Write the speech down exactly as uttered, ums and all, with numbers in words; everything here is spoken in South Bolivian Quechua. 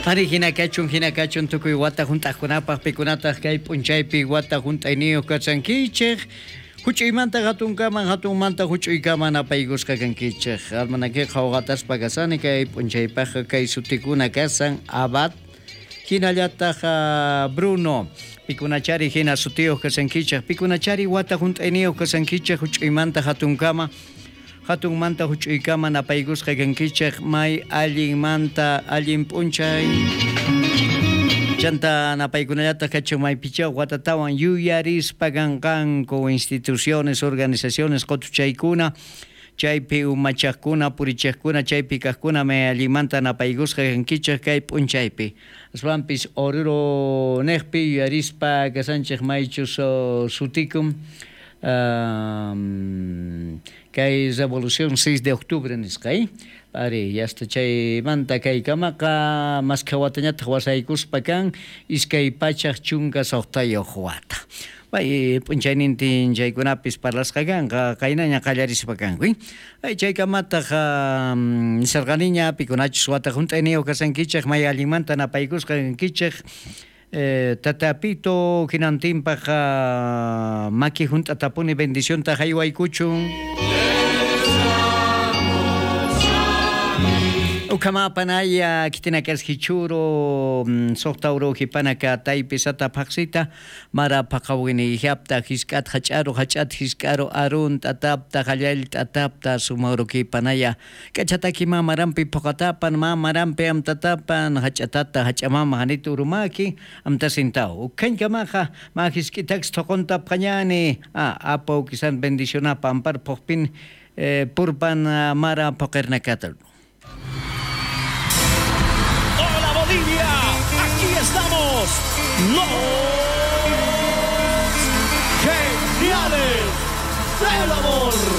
Ari hina kachun hina kachun tukuy wata hunt'aqkunapaq pikunataq kay p'unchaypi wata hunt'ayniyuq kachankichik. Huch'uymanta hatunkaman hatunmanta huch'uykaman apaykusqa kankichik. Almanakiqa qhawqataspa kasani kay p'unchaypaqqa kay sutikuna kasan Abad hinallataq Bruno. Pikunachari hina sutiyuq kasankichik, pikunachari wata hunt'ayniyuq kasankichik huch'uymanta hatunkama. Hatunmanta huch'uykama napaykusqa kankichik may allinmanta allin p'unchay. Chanta napaykunallataq kachun maypichaw watatawan yuyarispa kanqanku instituciones, organizaciones qutuchaykuna chaypi umachaqkuna purichaqkuna chaypi kaqkuna may allinmanta napaykusqa kankichik kay p'unchaypi. Aswanpis Oruro niqpi yuyarispa kasanchik maychus sutikun um, kay Revolución seis de octubre nisqa, Ari, yasta chaymanta kaykamaqa maskha watañataq wasaykuspa kan iskay pachaq chunka suqtayuq wata. Bay p'unchaynintin chaykunapis parlasqa kanqa qaynaña qallarispa kanku. Ay chaykamataq nisarqaniña pikunachus wata hunt'ayniyuq kasankichik may allinmanta napaykusqa kankichik. Eh, tatapito hinantinpaq maki hunt'atapuni bendicionta haywaykuchun. Ukamapanaya kitinakas hichuro suqta uru hipanaka taypisata phaqsita mara phaqawini hiapta hisk'at hach'aru hach'at hisk'aru arun t'atapta hallal t'atapta sumauru kipanaya k'achataki mamarampi phuqatapan mamarampi amtatapan hach'atata hach'amama hanitu urumaki amtasintaw ukhankamaqa ma hisk'itaks thuqunta phañani a apu kisan bendicionapa ampar phuqpin eh, purpan mara phuqirnakatl. Bolivia, aquí estamos, los geniales del amor.